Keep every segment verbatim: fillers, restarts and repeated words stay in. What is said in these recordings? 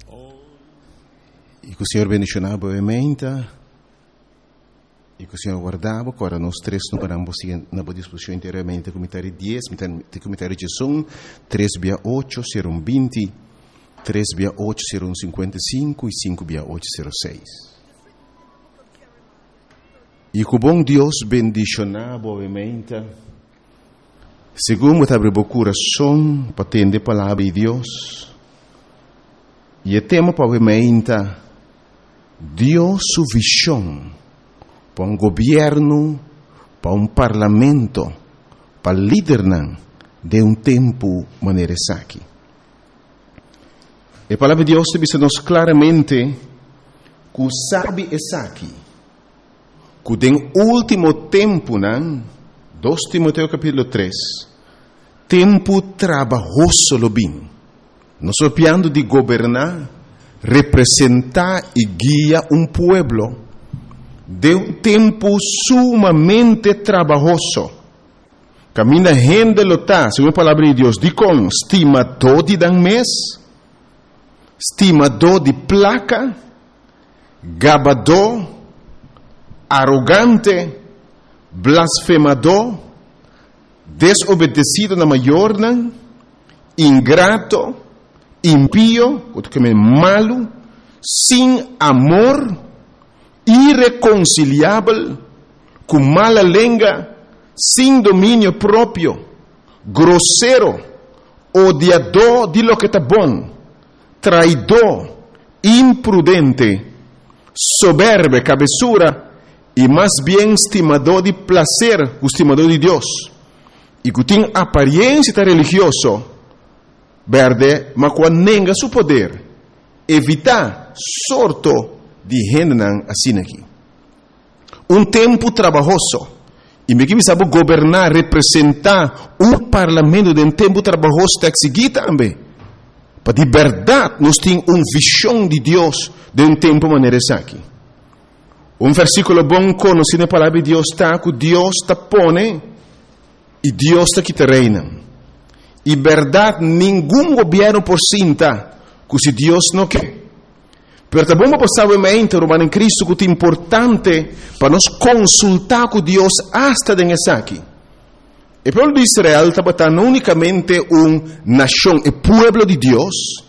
I ku Señor bendishoná bo mainta. I ku Señor warda bo. Awor nos tres numbernan na bo disposishon enteramente ku mitar di dies, mitar ku mitar di diesun, tres bia ocho, sero un binti, tres bia ocho, sero un sinkuenta i sinku i sinku bia ocho, sero seis. I ku bon Dios bendishoná bo mainta. Segun bo ta habri bo kurason pa tende palabra di Dios. I e tema pa awe mainta, Dios su vishon pa un gobièrnu, pa un parlamento, pa lidernan den un tempu manera esaki. E palabra di Dios ta bisa nos klaramente ku sabi esaki, ku den último tempunan, dos Timoteo kapítulo tres, tempu trabahoso lo bin. Nos papiando di goberná, representá i guia un pueblo den un tempu sumamente trabahoso. Kaminda hende lo ta, segun e palabra di Dios, dikon stimadó di nan mes, stimadó di plaka, gabadó, arogante, blasfemadó, desobedesido na mayornan, ingrato, impio, ku ta malu, sin amor, irekonsiliabel, ku mala lenga, sin dominio propio, grosero, odiadó di loke ta bon, traidó, imprudente, soberbe, kabesura, i mas bien stimadó di plaser ku stimadó di Dios, i ku tin aparensia ta religioso, bèrdè, ma ku a nenga su poder. Evitá sorto di hendenan asina aki. Un tempu trabahoso. I mi ke bisa bo goberná, representá un parlamento den tempu trabahoso ta eksigí tambe pa di bèrdat nos tin un vishon di Dios den un tempu manera esaki. Un versíkulo bon konosí na palabra di Dios ta ku Dios ta pone i Dios ta kita reinan. I bèrdat ningun gobièrnu por sinta ku si Dios no ke. Pero ta bon pa sabi mente, ruman den Kristu, ku ta importante pa nos konsultá ku Dios asta den esaki. E pueblo di Israel tabata no únikamente un nashon, e pueblo di Dios,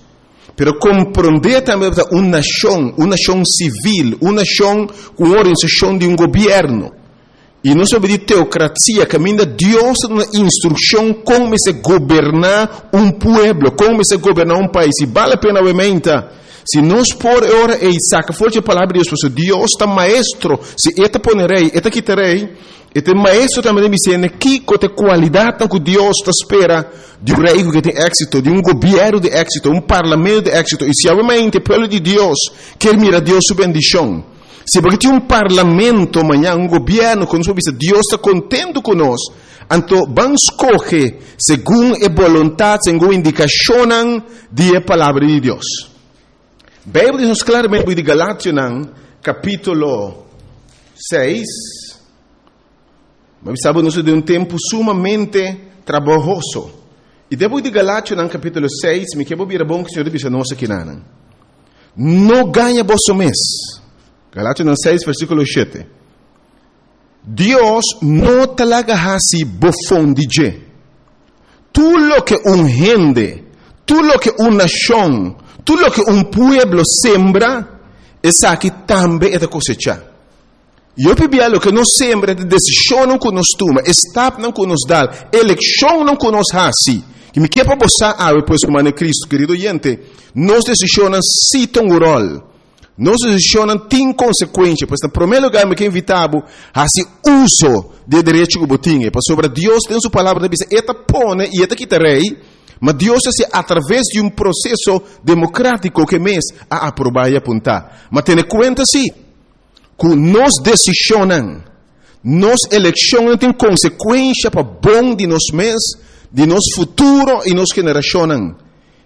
pero komprondé tambe un nashon, un nashon sivil, un nashon ku organisashon di un gobièrnu. I nos sa di teokrasia, kaminda Dios ta duna instrukshon kon mester goberná un pueblo, kon mester goberná un pais. I bale la pena, obviamente, si nos por ora e saka for di palabra di Dios, pasobra Dios ta maestro, si E ta pone rei, E ta kita rei, E ta maestro tambe di bisa kiko ta e kualidat ku Dios ta spera di un rei ku tin éksito, di un gobièrnu di éksito, un parlamento di éksito. I si obviamente e pueblo di Dios ke mira Dios su bendishon, si bo ke tin un parlamento mañan, un gobièrnu ku nos bisa Dios ta kontentu ku nos, anto ban skohe segun e boluntat, segun indikashon di palabra di Dios. Beibel ta bisa klaramente di Galationan, kapítulo seis, ma sabi, nos den un tempu sumamente trabahoso. I despues di Galationan, kapítulo seis, mi ke bira bon ku Señor bisa nos aki nan. No gaña boso mes. Galationan seis, versíkulo shete. Dios no ta laga hasi bofon di dje. Tur loke un hende, tur loke un nashon, tur loke un pueblo sembra, esaki tambe e ta kosechá. I p'esei loke nos sembra ta desishon ku nos tuma, stapnan ku nos dal, elekshon ku nos hasi. I mi ke pa bo sa, pues, ruman Kristu, kerido oyente, nos desishon sí tin un ròl. Nos desishon tin konsekuensia. Pues, na promé lugá, mi ke invitá bo hasi uso di derecho ku bo tin. Pasobra Dios den su palabra, ta bisa, E ta pone i E ta kita rei, ma Dios ta hasi a traves di un proseso demokrátiko ku e mes a aprobá i apuntá. Ma tene kuenta sí, ku nos desishon, nos elekshon tin konsekuensia pa bon di nos mes, di nos futuro i nos generashon.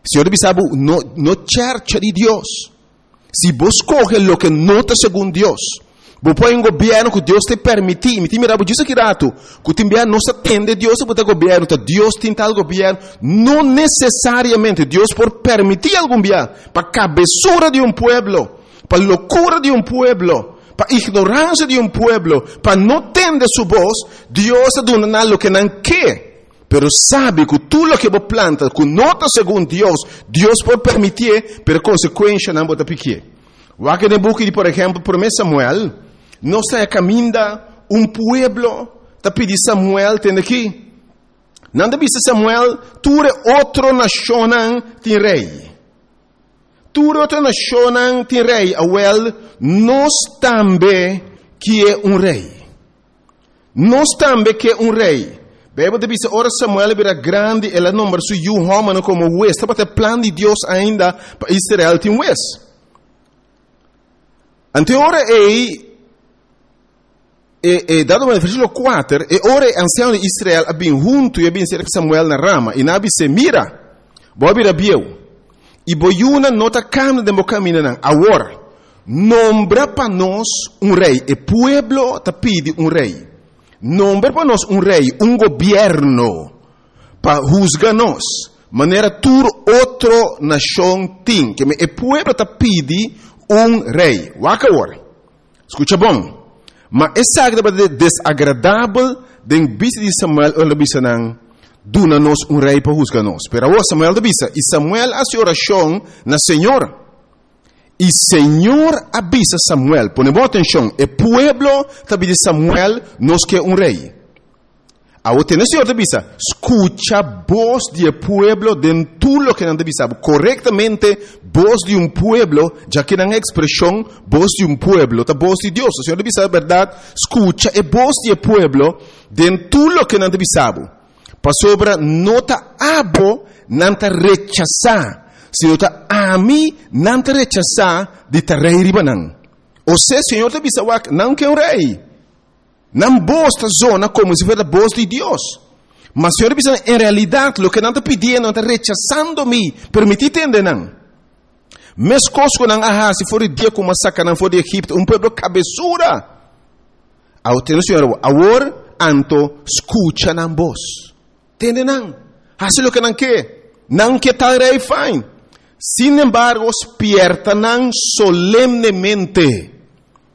Señor ta bisa, no, no chercha di Dios. Si bo skohe loke no ta segun Dios, Bo por un gobièrnu ku Dios ta permití, mi tin mirá djis aki ratu, ku tin no ta tende Dios pa gobièrnu, ta Dios tin tal gobièrnu, no nesesariamente Dios por permití algun dia pa kabesura di un pueblo, pa lokura di un pueblo, pa ignoransia di un pueblo, pa no tende su bos, Dios ta duna nan loke nan ke. Pero sabe ku tur loke bo planta, ku no ta segun Dios, Dios por permití, pero konsekuensianan bo ta piki. Wak den buki di, por ehèmpel, Promé Samuel, nos ta kaminda un pueblo, ta pidi Samuel, tende aki. Nan ta bisa Samuel, tur otro nashon tin rei. Tur otro nashon tin rei. Awèl, nos tambe ke un rei. Nos tambe ke un rei. Beibel ta bisa, ora Samuel bira grandi, el a nombra su yu hòmber komo hues. Tabata plan di Dios ainda pa Israel tin hues. Anto ora ei, e, e dado na versíkulo kuater, e ora e ansianonan di Israel a bin huntu i a bin serka Samuel na Rama, i nan a bis'é, mira, bo a bira bieu, i bo yunan no ta kana den bo kamindanan. Awor, nombra pa nos un rei, e pueblo ta pidi un rei. Nombra pa nos un rei, un gobièrnu, pa husga nos, manera tur otro nashon tin, ke e pueblo ta pidi un rei. Wak awor. Skucha bon. Ma esaki tabata desagradabel den bista di Samuel ora el a bisa nan duna nos un rei pa husga nos. Pero awor Samuel ta bisa i Samuel a hasi orashon na Señor. I Señor a bisa Samuel, pone bon atenshon, e pueblo ta pidi Samuel nos ke un rei. Awor tende Señor ta bisa, skucha bos di pueblo den tur loke nan ta bisa. Korektamente, bos di un pueblo, ya ku nan ekspreshon, bos di un pueblo, ta bos di Dios. Señor ta bisa berdat, skucha e bos di pueblo den tur loke nan ta bisa. Pasobra no ta abo nan ta rechasá, sino ta ami nan ta rechasá di ta rei riba nan. O sea, Señor ta bisa wak, nan ke un rei. Nan bos ta zona komo si fuera bos di Dios. Ma Señor ta bisa, en realidat, loke nan ta pidiendo, nan ta rechasando mi, permití tende nan. Meskos ku nan a hasi for di dia ku m'a saka nan for di Egipto, un pueblo kabesura. Awor tende Señor, awor anto skucha nan bos. Tende nan. Hasi loke nan ke. Nan ke tal rei fine. Sin embargo, spièrta nan solemnemente.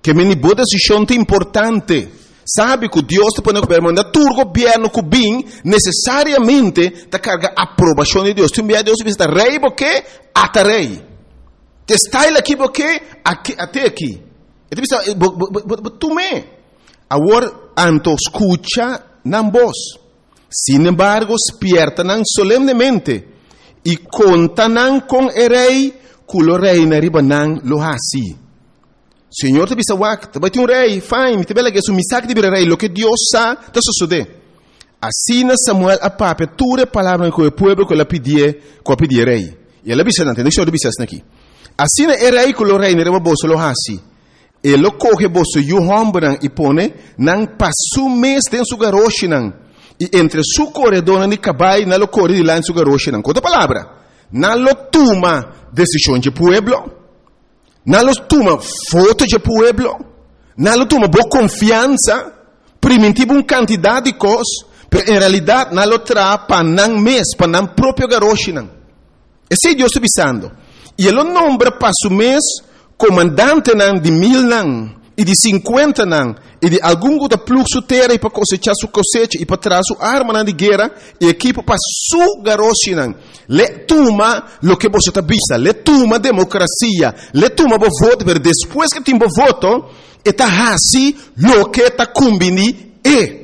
Ke men bo desishon ta importante. Sabe ku Dios ta pone gobièrnu, manda tur gobièrnu ku bin nesesariamente ta karga aprobashon di Dios. Tin bia Dios bisa rei bo ke ata rei. Te style aki bo ke aki ate aki. E ta bisa bo bo bo tuma. Awor anto skucha nan bos. Sin embargo, spièrta nan solemnemente i konta nan kon e rei ku lo reina riba nan lo hasi. Señor ta bisa wak, ta bai tin un rei, fine, mi ta bela su misak di bira rei, loke Dios sa, ta sosodé. Asina Samuel a papia tur e palabra ku e pueblo ku el a pidi, ku a pidi rei. I el a bisa nan, tende Señor ta bisa aki. Asina e rei ku lo reina riba boso lo hasi. E lo kohe boso yu hòmbernan i pone nan pa su mes den su garoshinan. I entre su koredónan di kabai nan lo kore dilanti su garoshinan. Ku otro palabra, nan lo tuma desishon di pueblo. Nan lo tuma voto di pueblo. Nan lo tuma bo konfiansa. Primintí un kantidat di kos, pero en realidat nan lo traha pa nan mes, pa nan propio garoshinan. Esei Dios ta bisando. I e lo nombra pa su mes komandantenan di milnan i di sinkuentanan i di algun ku ta plug su tera i pa kosechá su kosecha i pa traha su armanan di guera i ekipo pa su garoshinan. L'e tuma loke boso ta bisa, l'e tuma demokrasia, l'e tuma bo voto, pero despues ku tin bo voto, e ta hasi loke ta kumbiní e.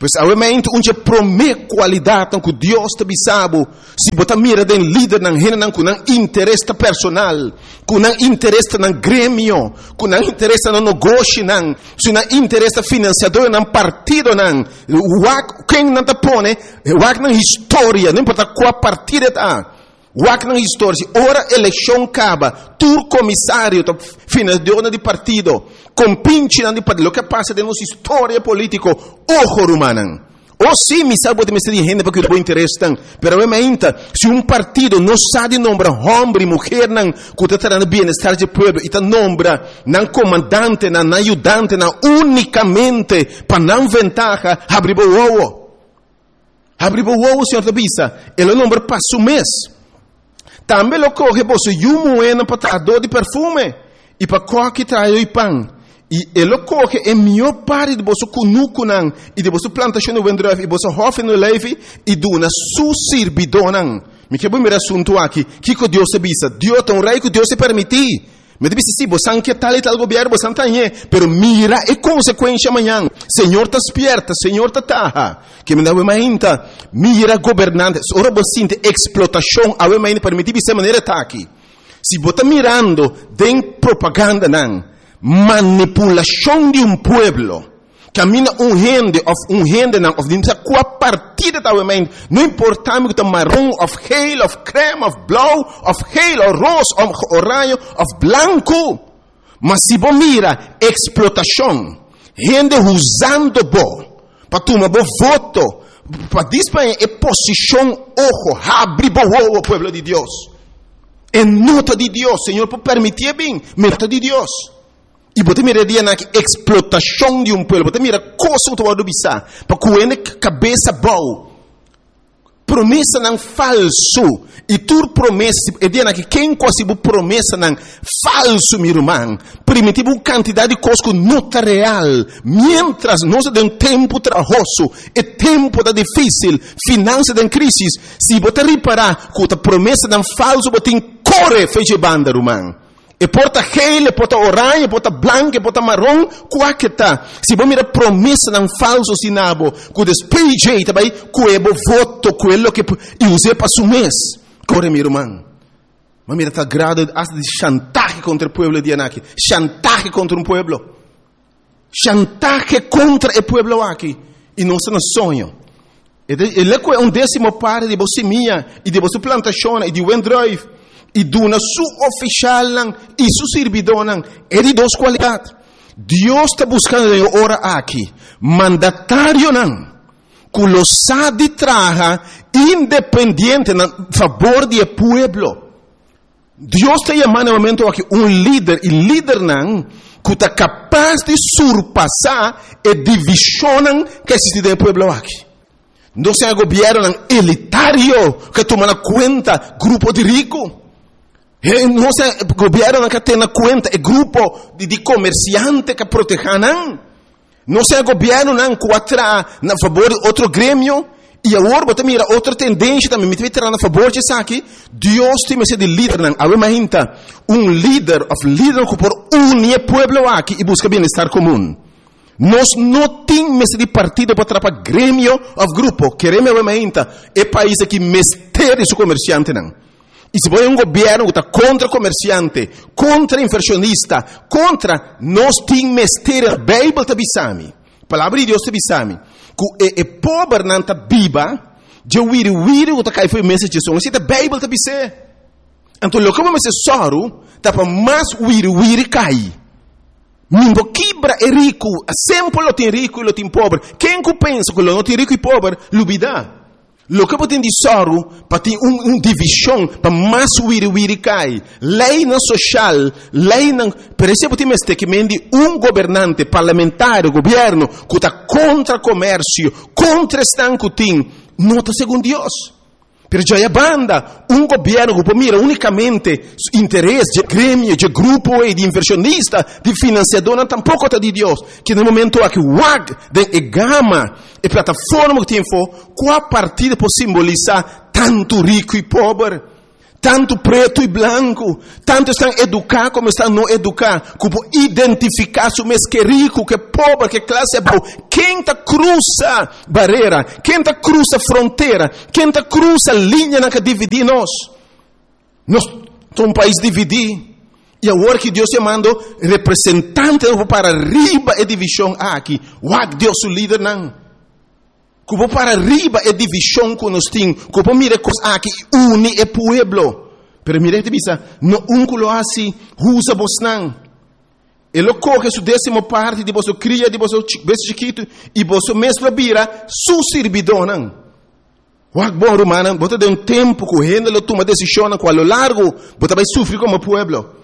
Pues obviamente un promé kualidat ku Dios ta bisa bo, si bo ta mira den lidernan hendenan ku nan interes personal, ku nan interes nan gremio, ku nan interes nan negoshinan, si nan interes finansiadónan partidonan, wak ken nan ta pone, wak nan historia, no importá kua partido ta. Wak nan historia, si ora elekshon kaba, tur komisario, finansiadó di partido, kompinchinan di partido, loke a pasa den nos historia polítiko, ojo rumannan. O si, mi sa bo tin mester di hende pa kuida bo interesnan, pero awe mainta, si un partido no sa di nombra hòmber i muhernan ku ta traha na bienestar dje pueblo i ta nombra nan komandantenan, nan ayudantenan únikamente pa nan ventaha, habri bo wowo. Habri bo wowo, Señor ta bisa, E lo nombra pa su mes. Tambe lo kohe boso yu muhénan pa trahadó di perfume i pa kòki traha yo'i pan. I e lo kohe e mihó parti di boso kunukunan i di boso plantashon di wendrùif i boso hòfi di oleifi i duna su sirbidónan. Mi ke bo mira e asuntu aki. Kiko Dios ta bisa? Dios ta un rei ku Dios a permití. Mi ta bisa, sí, bosan ke tal i tal gobièrnu, bosan ta hañ'é, pero mira e konsekuensha mañan. Señor ta spièrta, Señor ta taha. Ke mi awe mainta mira gobernante. Ora bo sinti eksplotashon awe mainta, permití bisa e manera ta aki. Si bo ta mirando den propagandanan manipulashon di un pueblo, kaminda un hende òf un hendenan òf di sa kua partido ta awe mainta, no importa mi ku ta maron òf geel òf krèm òf blou òf geel òf ros òf oraño òf blanku, ma si bo mira eksplotashon, hende huzando bo pa tuma bo voto, pa dispaña e posishon, ojo, habri bo wowo, pueblo di Dios. E no ta di Dios. Señor por permitié bin, ma e no ta di Dios. I bo ta mira e dianan aki eksplotashon di un pueblo. Bo ta mira kos ku ta wòrdu bisá pa ku hende kabes abou. Promesanan falsu. I tur promesa, e dianan aki ken ku hasi bo promesanan falsu, mi ruman, primintí bo un kantidat di kos ku no ta real. Miéntras nos ta den un tempu trahoso, e tempu ta difísil, finansa den krísis, si bo ta ripará ku ta promesanan falsu bo tin, kore fecha e banda, ruman. E por ta geel, e por ta oranje, e por ta blanco, e por ta maron, kua ke ta. Si bo mira promesanan falso asina bo, ku des P J ta bai kue bo voto, kue loke i us'é pa su mes. Kore, mi ruman. Ma mira ta grado hasta di chantahe kontra e pueblo di anaki. Chantahe kontra un pueblo. Chantahe kontra e pueblo aki. I nos ta na soño. E lo kue un desimo parti di bo simia i di boso plantashonnan i di wendrùif i duna su ofishalnan i su sirbidónan. E di dos kualidat. Dios ta buskando den e ora aki mandatarionan ku lo sa di traha independiente na fabor di e pueblo. Dios ta yama na e momento aki un lider i lidernan ku ta kapas di surpasá e divishonnan ku a eksistí den e pueblo aki. No sea gobièrnunan elitario ku a tuma na kuenta grupo di riku. No sea gobièrnunan ku a tene na kuenta e grupo di komersiante ku a protehá nan. No sea gobièrnunan ku a traha na fabor di otro gremio i awor bo ta mira otro tendensha tambe mi ta bai traha na fabor di esaki. Dios tin mester di lidernan. Awe mainta un lider òf lidernan ku por uni e pueblo aki i buska bienestar komun. Nos no tin mester di partido pa traha pa gremio òf grupo. Kereme awe mainta e pais aki mester di su komersiantenan. I si bo hay un gobierno ku ta kontra komersiante, kontra inversionista, kontra, nos tin mester, Beibel ta bisa mi, Palabra di Dios ta bisa mi, ku e e pobernan ta biba dje wiri wiri ku ta kai for e mesa dje son. Esei ta Beibel ta bis'é. Anto loke bo mester sòru ta pa mas wiri wiri kai. Mi bo kibra e riku, semper lo tin riku i lo tin pober. Ken ku pensa ku lo no tin riku i pober, lubidá. Loke bo tin di sòru pa tin un un divishon pa mas wiri wiri kai. Leinan soshal, leinan, pero esei bo tin mester ke men di un gobernante, parlamentario, gobièrnu ku ta kontra komersio, kontra esnan ku tin, no ta segun Dios. Pero djaya banda, un gobièrnu ku por mira únikamente su interes dje gremio, dje grupo ei di invershonista, di finansiadónan tampoko ta di Dios. Ke na e momento aki wak den e gama. E plataforma ku tin afó, kua partido por simbolisá tantu riku i pober, tantu pretu i blanku, tantu esnan eduká komo esnan no eduká, ku por identifiká su mes ke riku, ke pober, ke klase abou? Ken ta krusa barera? Ken ta krusa frontera? Ken ta krusa liñanan ku a dividí nos? Nos ta un pais dividí. I awor ki Dios yamando representantenan ku por para riba e divishon aki. Wak Dios su lidernan. Ku por para riba e divishon ku nos tin. Ku por mira e kos aki i uni e pueblo. Pero mira e ta bisa, no un ku lo hasi, usa bosnan. E lo kohe su désimo parti di boso kria, di boso bestia chikitu, i boso mes lo bira su sirbidónan. Wak bon, rumannan, bo ta den un tempu ku hende lo tuma desishonnan ku a lo largu bo ta bai sufri komo pueblo.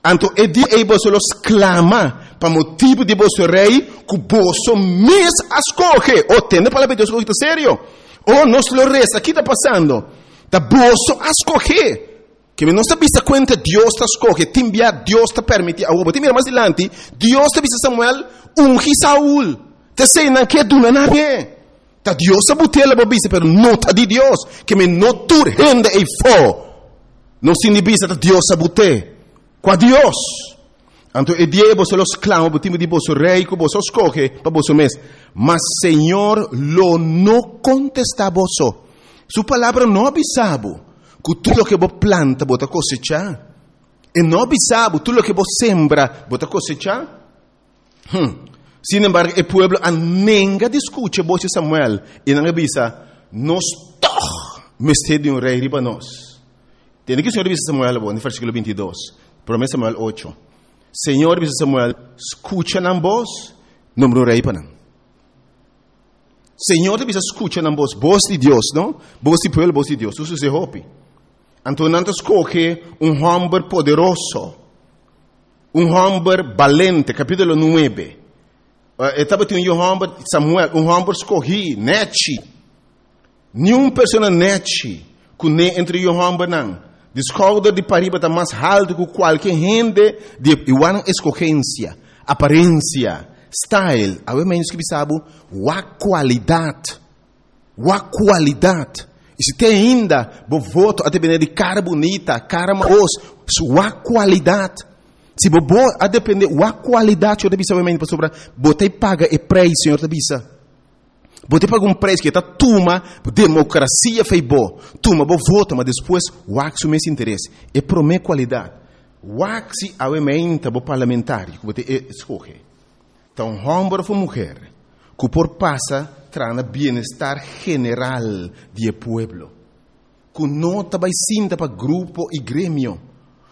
Anto e dia ei boso lo sklama pa motibu di boso rei ku boso mes a skohe. Oh, tende palabra di Dios ku ta serio. Oh, nos lo resa, ki ta pasando? Ta boso a skohe. Ke mi nos ta bisa kuenta Dios ta skohe, tin bia Dios ta permití. Awor bo tin mira mas dilanti, Dios ta bisa Samuel, ungi Saul. Ta esei nan ke duna nan e. Ta Dios a butela bo bisa, pero no ta di Dios. Ke mi no tur hende ei fo. Nos tin di bisa ta Dios a but'é. Kua Dios? Anto e dia ei boso lo sklama bo timba di boso rei ku boso a skohe pa boso mes. Ma Señor lo no kontestá boso. Su palabra no a bisa bo ku tur loke bo planta bo ta kosechá. E no a bisa bo tur loke bo sembra bo ta kosechá. Hm. Sin embargo, e pueblo a nenga di skucha e bos di Samuel, i nan a bisa, Nos tòg mester di un rei riba nos. Tende ki Señor a bisa Samuel awor, den versíkulo binti i dos, Promé Samuel ocho. Señor a bisa Samuel, Skucha nan bos, nombra un rei pa nan. Señor ta bisa skucha nan bos, bos di Dios, no? Bos di pueblo, bos di Dios. Su sucede hopi. Anto nan ta skohe un hòmber poderoso. Un hòmber balente, kapítulo nuebe. E tabatin un yu hòmber, Samuel, un hòmber skohí, nèchi. Niun persona nèchi kuné entre yu hòmbernan. Di skouder di pariba ta mas haltu ku kualke hende di e igual nan eskohensia, aparensia, style. Awe mei nos ke bisa bo, wak kualidat. Wak kualidat. I si te ainda bo voto a depende di kara bunita, kara mahos, wak kualidat. Si bo bo a depende wak kualidat, Señor ta bisa obviamente pasobra bo ta paga e preis, Señor ta bisa. Bo ta paga un preis ke ta tuma demokrasia fei bo, tuma bo voto, ma despues wak su mes interes. E prome kualidat. Wak si awe meinta bo parlamentario ku bo ta escoge ta un homber of un muher ku por pasa traha na bienestar general di e pueblo, ku no ta bai sinta pa grupo i gremio,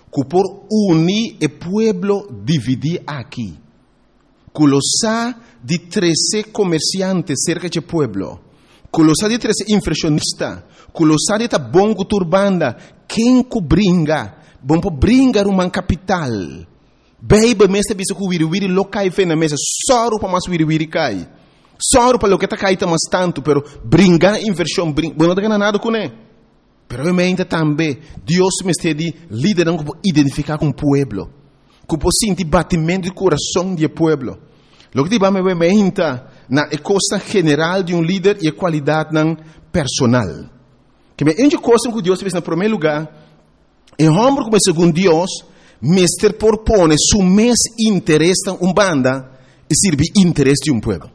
ku por uni e pueblo dividí aki, ku lo sa di trese komersiante serka dje pueblo, ku lo sa di trese invershonista, ku lo sa di ta bon ku tur banda, ken ku bringa, bon por bringa ruman kapital. Beibel mes ta bisa ku wiriwiri lo kai fe na mesa. Sòru pa mas wiriwiri kai. Sòru pa loke ta kai ta mas tantu, pero bringa invershon, brin, bo no ta gana nada kuné. Pero obviamente tambe Dios mester di lidernan ku por identifiká ku un pueblo, ku por sinti batimentu di kurason di e pueblo. Loke ta hiba mi obviamente na e kosnan general di un lider i e kualidatnan personal. Keme un dje kosnan ku Dios ta bisa na promé lugá, E hòmber ku bai segun Dios mester por pone su mes interesnan un banda i sirbi interes di un pueblo.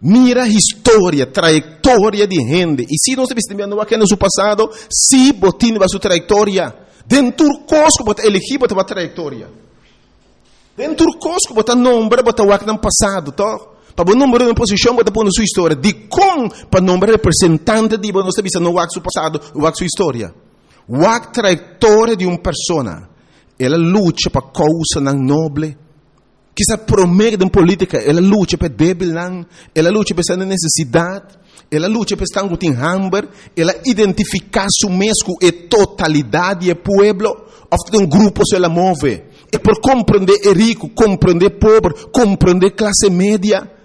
Mira historia, trayektoria di hende. I si nos ta bisa también wak hende su pasado, si bo tin riba su trayektoria. Den tur kos ku bo ta elegí bo ta wak trayektoria. Den tur kos ku bo ta nombra bo ta wak nan pasado, tòg? Pa bo nombra un posishon bo ta pone su historia. Dikon pa nombra representante di bo nos ta bisa no wak su pasado, wak su historia? Wak trayektoria di un persona. El a lucha pa kousanan noble. Kisa promé den polítika el a lucha pa e débilnan, el a lucha pa esnan den nesesidat, el a lucha pa esnan ku tin hamber, el a identifiká su mes ku e totalidat di e pueblo òf den un grupo so el a move. E por komprendé e riku, komprendé e pober, komprendé klase media.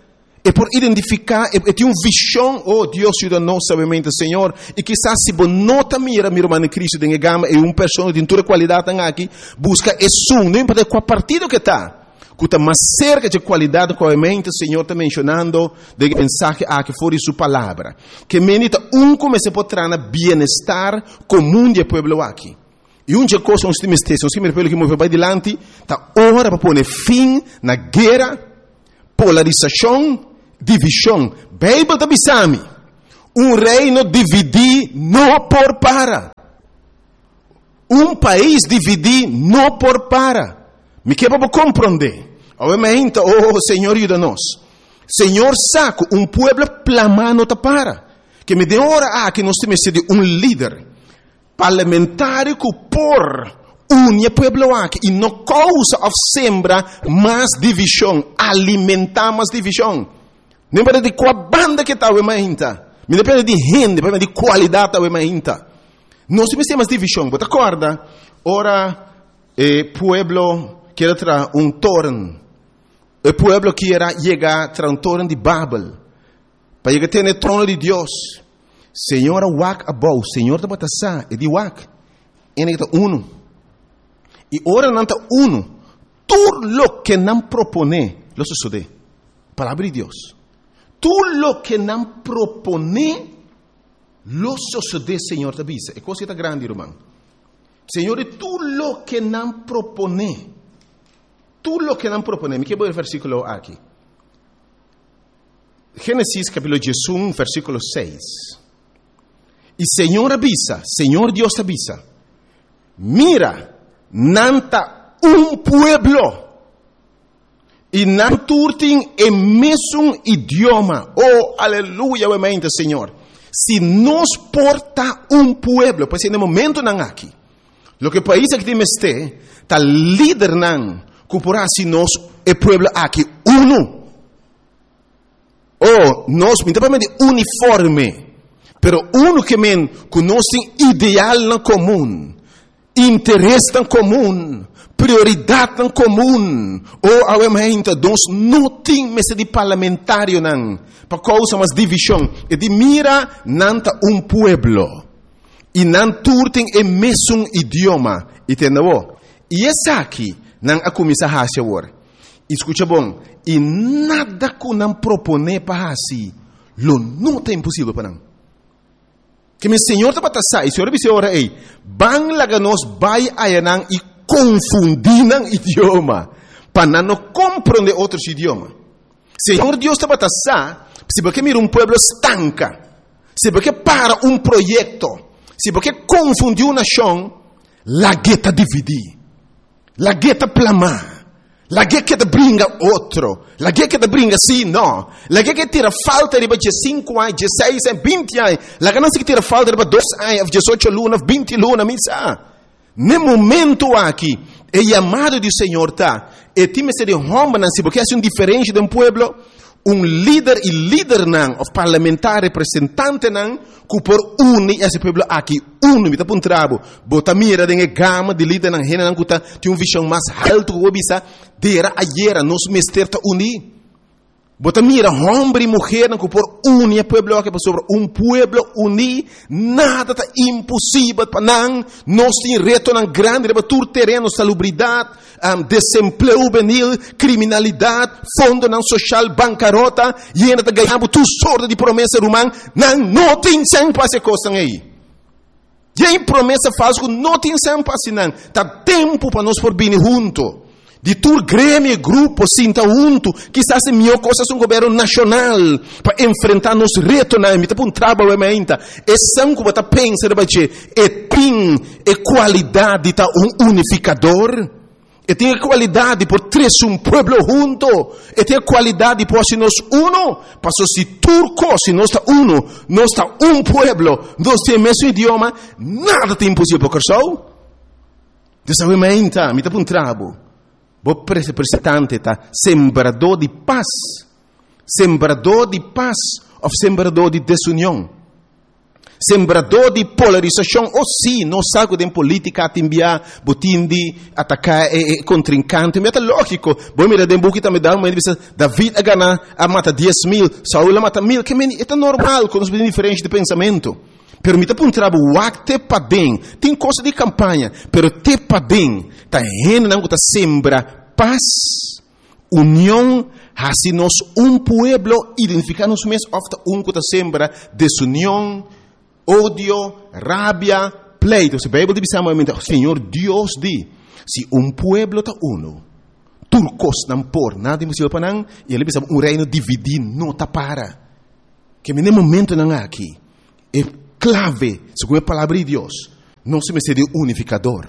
E por identifiká, e, e tin un vishon. Oh, Dios yuda nos sabiamente, Señor. I kisas si bo no ta mira, mi ruman den Cristo, den e gama e un persona tin tur e kualidatnan aki, buska esun, no importa kua partido ke ta, ku ta mas serka dje kualidat ku obviamente Señor ta menshonando den e mensahe aki for di su Palabra. Ke mende ta un ku mester por traha na bienestar komun di e pueblo aki. I un dje kos nos tin mester, si nos ke mira pueblo ki move bai dilanti, ta ora pa pone fin na guera, Polarisashon, divishon. Beibel ta bisa mi, Un reino dividí no por para. Un pais dividí no por para. Mi ke pa bo komprondé. Awe meinta, oh, Señor yuda nos. Señor sa ku un pueblo plamá no ta para. Ke mi den ora aki nos ta mester di un lider parlamentario ku por Uni e pueblo aki i no kousa òf sembra mas divishon, alimentá mas divishon. No importa di kua banda ke ta awe mainta. Mi no papia di hende, papia di kualidat awe mainta. Nos tin mester mas divishon. Bo ta kòrda ora e pueblo kier a traha un toren? E pueblo kier a yega traha un toren di Babel pa yega tene e trono di Dios. Señor a wak abou, Señor tabata sa, e di wak, ene ta unu. I ora nan ta unu, tur loke nan proponé lo sosodé. Palabra di Dios. Tur loke nan proponé lo sosodé, Señor ta bisa. E kos ta grandi, ruman. Señor, di tur loke nan proponé, tur loke nan proponé, mi ke bai versíkulo aki. Génesis kapítulo diesun, versíkulo seis. I Señor a bisa, Señor Dios a bisa: "Mira, nan ta un pueblo. I nan tur tin e mesun idioma." Oh, aleluya, obviamente, Señor. Si nos por ta un pueblo, pues na e momentonan aki, loke e pais aki tin mester, ta lidernan, ku por hasi nos e pueblo aki uno. Oh, nos, mi ta di uniforme, pero uno ke men, ku nos tin idealnan komun, interesnan komun, prioridatnan komun. Oh, awe mainta, nos no tin mester di parlamentarionan, pa kousa mas divishon. E di mira, nan ta un pueblo. I nan tur tin e mesun idioma. I tende? I esaki, nan a kuminsá hasi awor. I skucha bon, i nada ku nan proponé pa hasi, lo no ta imposibel pa nan. Ke men Señor tabata sa, i Señor bisa ora ei, ban laga nos bai ayanan i konfundí nan idioma, pa nan no komprondé otro idioma. Señor Dios tabata sa, si bo ke mira un pueblo stanka, si bo ke para un proyekto, si bo ke konfundí un nashon, lag'é ta dividí, lag'é ta plama, lag'é keda bringa otro, lag'é keda bringa si, no, lag'é keda tira falta riba diesinku aña, diesseis aña, binti aña, laga nan tira falta riba dos aña, diesocho luna, binti luna, mi sa. Na e momento aki, e yamado di Señor ta, e tin mester di hòmbernan, si bo ke hasi un diferensia den pueblo, un lider i lidernan, òf parlamentario, representantenan, ku por uni e pueblo aki, uno, mi ta puntra bo, bo ta mira den e gama di lidernan, hendenan ku ta, tin un vishon mas altu ku bisa, dera ayera, nos mester ta uni. Bo ta mira hòmber i muhé ku por uni e pueblo aki, pasobra un pueblo uní, nada ta imposibel pa nan. Nos tin retonan grandi, riba tur tereno, salubridat, um, desempleo hubenil, kriminalidat, fondonan sosial, bankarota, i ainda ta gañando tur sorto di promesa, ruman, nan no tin sèn pa e kosnan ei. Tin promesa falsu no tin sèn pa nan. Ta tempu pa nos por bini huntu. Di tur gremio, grupo, sinta huntu. Kisas e mihó kos ta un gobièrnu nashonal pa enfrentá nos retonan. Mi ta puntra bo ainda. Esun ku ta pensa e tin e kualidat di ta un unifikadó. E tin e kualidat di por trese un pueblo huntu. E tin e kualidat di por hasi nos uno. Paso si tur kos, si nos ta uno, nos ta un pueblo, nos tin e mesun idioma, nada ta imposibel pa Kòrsou. Dios sabe ainda, mi ta puntra bo. Bo representante ta sembradó di pas. Sembradó di pas òf sembradó di desunion. Sembradó di polarisashon. Oh, si, nos sa ku den polítika tin bia, bo tin di ataká e, e kontrinkante. Ma ta lógiko. Bo mira den buki tambe da, bisa David a gana a mata dies mil, Saul a mata mil. Ke men, ta normal ku nos tin diferensia di pensamentu. Pero mi ta puntra bo wak te paden. Tin kos di kampaña, pero te paden. Ta hendenan ku ta sembra pas, union, hasi nos un pueblo, identifiká nos mes, òf ta un ku ta sembra desunion, odio, rabia, pleitu. E Beibel ta bisa, Señor Dios di, si un pueblo ta uno, tur kos nan por, nada imposibel pa nan, i el a bisa un reino dividí no ta para. Ke men momentonan aki, e klave, segun e palabra di Dios, nos mester di unifikadó.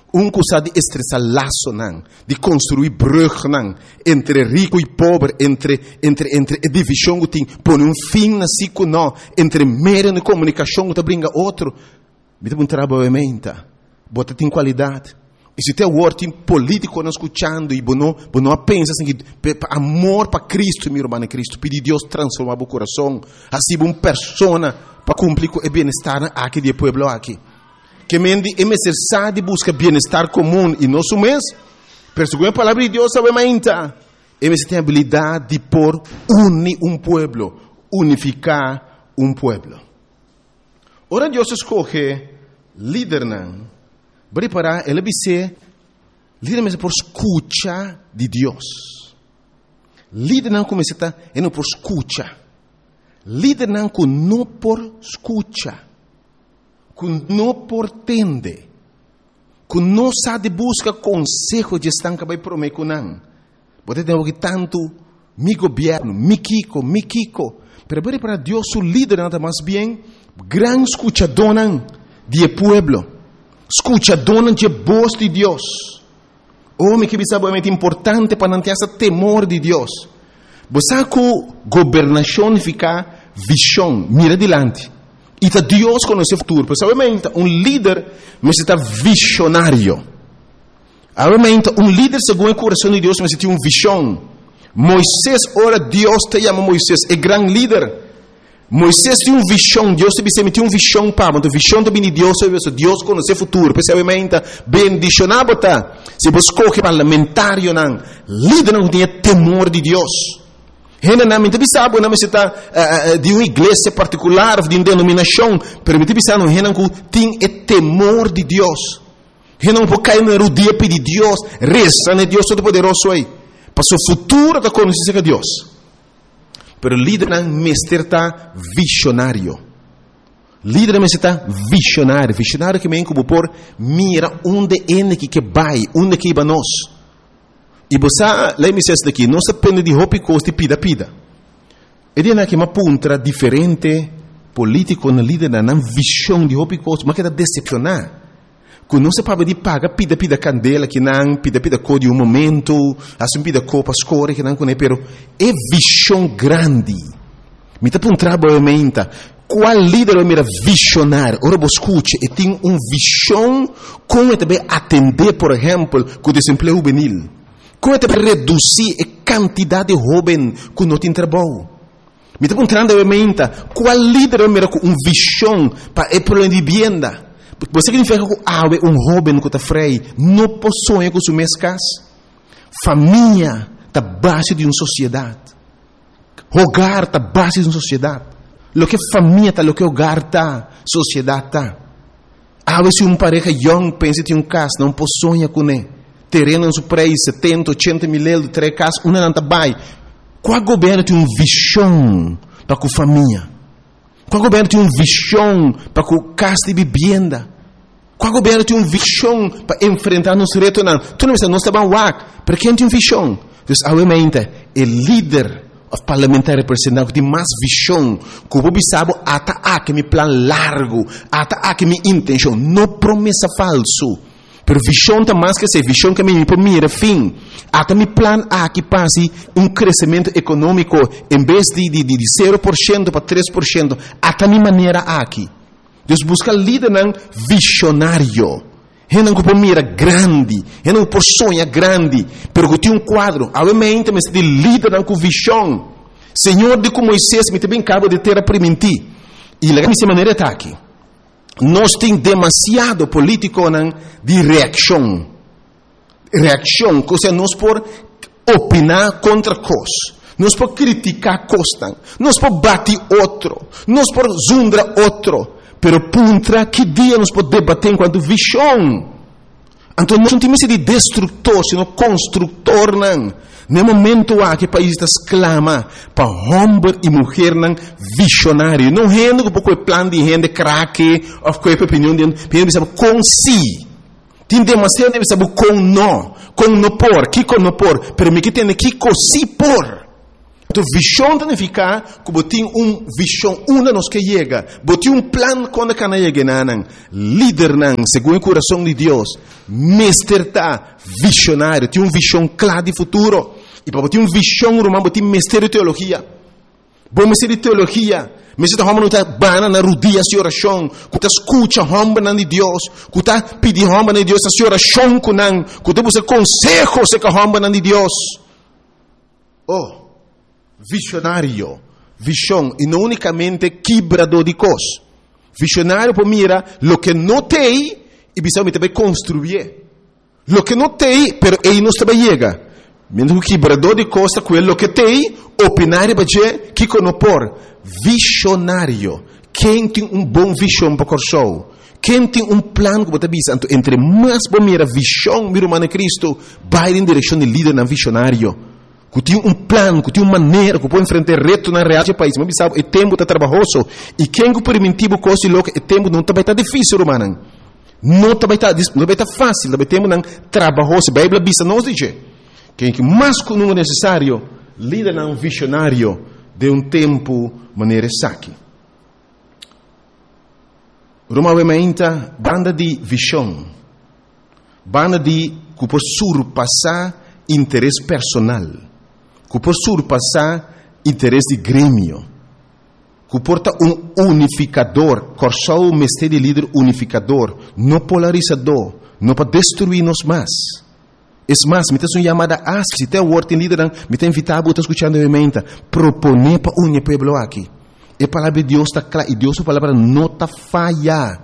Un ku sa di estrechá lasonan, di konstruí brugnan entre riku i pober, entre entre entre e divishon ku tin, pone un fin na siko no, entre medio di komunikashon ku ta bringa otro. Mi ta puntra bo, bo tin kualidat. I si te awor tin polítikonan skuchando i bo no, bo no a pensa asina ku pa amor pa Kristu, mi ruman den Kristu, pidi Dios transformá bo kurason, hasi bo un persona pa kumpli ku e bienestarnan aki di e pueblo aki. Ke men di e mester sa di buska bienestar komun i no su mes, pero segun e Palabra di Dios awe mainta, e mester tin abilidat di por uni un pueblo, unifiká un pueblo. Ora Dios a skohe lidernan, bo ripará, el a bis'é, Lider mester por skucha di Dios. Lidernan ku mester ta, e no por skucha. Lidernan ku no por skucha, ku no por tende, ku no sa di buska konseho di esnan ku a bai promé ku nan. Bo ta tende hopi tantu, Mi gobièrnu, mi kiko, mi kiko. Pero bo ripará, Dios su lidernan ta mas bien gran skuchadónan di e pueblo, skuchadónan dje bos di Dios. Oh, mi ke bisa bo, ta importante pa nan tin esa temor di Dios. Bo sa ku gobernashon nifiká vishon, mira dilanti. I ta Dios konosé futuro. Pero sabe menta, un lider mester ta vishonario. Awe menta, un lider segun e kurason di Dios mester tin un vishon. Moises, ora Dios ta yama Moises, e gran lider, Moises tin un vishon, Dios ta bis'é, mi tin un vishon pa bo. Anto vishon ta bini di Dios, pasobra Dios konosé futuro. P'esei awe menta, bendishoná bo ta si bo skohe parlamentarionan, lidernan ku tin e temor di Dios. Hendenan, mi ta bisa bo, nan mester ta di un iglesia partikular òf di un denominashon, pero mi ta bisa nan hendenan ku tin e temor di Dios. Hendenan ku por kai na rudia pidi Dios, resa na e Dios Todopoderoso ei, pasobra futuro ta konosí serka Dios. Pero lidernan mester ta visionario. Lidernan mester ta visionario. Visionario ke men ku bo por mira unda ende ki ke bai, unda ke iba nos. I bo sa, lei mi sesa aki, nos ta pende di hopi kos di pida pida. E dianan aki m'a puntra diferente politikonan, lidernan, nan vision di hopi kos, m'a keda desepshoná. Ku nos a pabia di paga pida pida kandela kinan, pida pida ko di un momentu, hasi un pida ko pa skore kinan kuné, pero e vishon grandi. Mi ta puntra bo meinta, kual lider bo mira vishonario? Ora bo skucha e tin un vishon kon e ta bai atendé por ehèmpel ku desempleo hubenil, kon e ta bai redusí e kantidat di hóben ku no tin trabou. Mi ta puntrando awe meinta, cual lider a mira cu un vision pa e problema di bibienda? Bo sa significa cu awe un hoben cu ta frei no por soña cu su mes cas? Famia ta base di un sociedad. Hogar ta base di un sociedad. Loke famia ta, loke hogar ta, sociedad ta. Awe si un pareha yong pensa tin un cas, nan por soña cune. Tereno nan su prijs setenta, ochenta mil euro, trae cas, unda nan ta bay? Cua gobierno tin un vision pa cu famia? Cua gobierno tin un vision pa cu cas di bibienda? Cua gobierno tin un vision pa enfrenta nos retonan? Tur nan bisa nos ta ban wak, pero ken tin un vision? Dus awe mente e lider Of parlamentario representante ku tin mas vishon ku bo bisa bo ata aki mi plan largu, ata aki mi intenshon. No promesa falsu. Pero vishon ta mas ke esei, vishon ke mi por mira fin. Ata mi plan aki pa hasi un kresementu ekonómiko en bes di di di sero por shento pa tres por shento, ata mi manera aki. Dus buska lidernan vishonario. Hendenan ku por mira grandi, hendenan ku por soña grandi, pero ku tin un kuadro. Awe mente mester di lidernan ku vishon. Señor di ku Moises, mi ta bin kabo di tera primintí. I laga mi si manera e ta aki. Nos tin demasiado politikonan di reakshon. Reakshon, kosea nos por opiná kontra kos, nos por kritiká kosnan, nos por bati otro, nos por zundra otro, pero puntra ki dia nos por debaté en kuantu vishon. Anto nos no tin mester di destruktor, sino konstruktornan. Na e momento aki e pais ta sklama pa hòmber i muhernan vishonario, no hende ku por kohe plan di hende krake òf kohe opinion di hende, pero hende bisa bo kon si. Tin demasiado hende bisa bo kon no, kon no por, kiko no por, pero mi ke tende kiko si por. Anto vishon ta nifiká ku bo tin un vishon unda nos ke yega, bo tin un plan kon ta kana yega enanan. Lidernan, segun e kurason di Dios, mester ta vishonario, tin un vishon kla di futuro. I pa bo tin un vishon, ruman, bo tin mester di teologia. Bo mester di teologia Mester ta hòmber ku ta bana na rudia hasi orashon, ku ta skucha hòmbernan di Dios, ku ta pidi hòmbernan di Dios hasi orashon ku nan, ku ta buska konseho serka hòmbernan di Dios. Oh, visionario, vishon, i no únikamente kibradó di kos. Visionario por mira loke no t'ei i bisa mi ta bai konstruié. Loke no t'ei, pero ei nos ta bai yega. Mientras ku kibradó di kos ta kue loke t'ei, opiná riba dje, kiko no por. Visionario. Ken tin un bon vishon pa Kòrsou? Ken tin un plan ku bo ta bisa? Anto entre mas bo mira vishon, mi ruman den Kristu, bai den direkshon di lidernan visionario. Ku tin un plan, ku tin un manera ku por enfrentá e retonan real dje pais. Mi a bisa bo, e tempu ta trabahoso. I ken ku permití bo kos di loke, e tempu no ta bai ta difísil, rumannan. No ta bai ta, no ta bai ta fásil, ta bai tempunan trabahoso. Beibel a bisa nos di dje. Ken ki mas ku nunka nesesario lidernan visionario den un tempu manera esaki. Ruma awe mainta banda di vishon, banda di ku por surpasá interes personal, ku por surpasá interes di gremio, ku por ta un unifikador. Kòrsou mester di lider unifikador, no polarisadó, no pa destruí nos mas. Es mas, mi ta haci un yamada aspi, si te awor tin lidernan, mi ta invita bo ta scuchando mi menta, propone pa uni e pueblo aki. E palabra di Dios ta cla y Dios su palabra no ta faya.